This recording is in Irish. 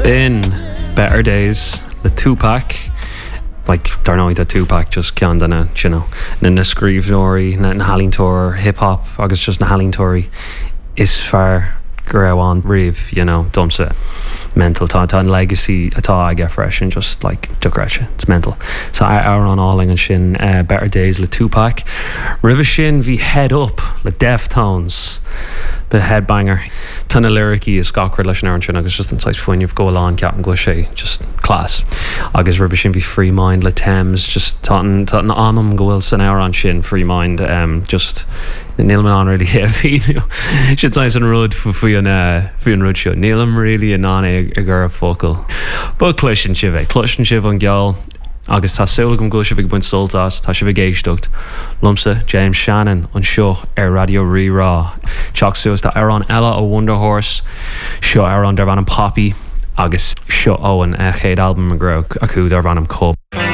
B'in Better Days le Tupac. Like, dar ndóigh tá Tupac just ceann de na, you know, na na scríbhneoirí, na na healaíontóir hip hop agus just na healaíontóirí is fearr go raibh ann riamh, you know, domsa. Mental. Tá tá an legacy atá aige freisin just like dochreidte. It's mental. So amhrán álainn ansin Better Days le Tupac. Roimhe sin bhí Head Up le Deftones. Bit of headbanger. Tá na liricí is gach rud leis an amhrán sin agus just an saghas fuinneamh go bhfuil ann ceapaim go bhfuil sé just class. Agus roimhe sin bhí Free Mind le Tems just tá an tá an anam go bhfuil san amhrán sin Free Mind um, just nílim in ann really é a mhíniú. Sin saghas an rud faoi an eh, faoi an rud seo. Nílim really in ann é a chur i bhfocail. But cloiseann sibh é, cloiseann sibh an ceol. Agus tá súil agam go bhfuil sibh ag baint sult as, tá sibh ag éisteacht liomsa, James Shannon, anseo ar Raidió Rí-Rá. Teacht suas tá amhrán eile ó Wunderhorse, seo amhrán darb ainm Poppy agus seo ón chéad albam a raibh acu darb ainm Cub.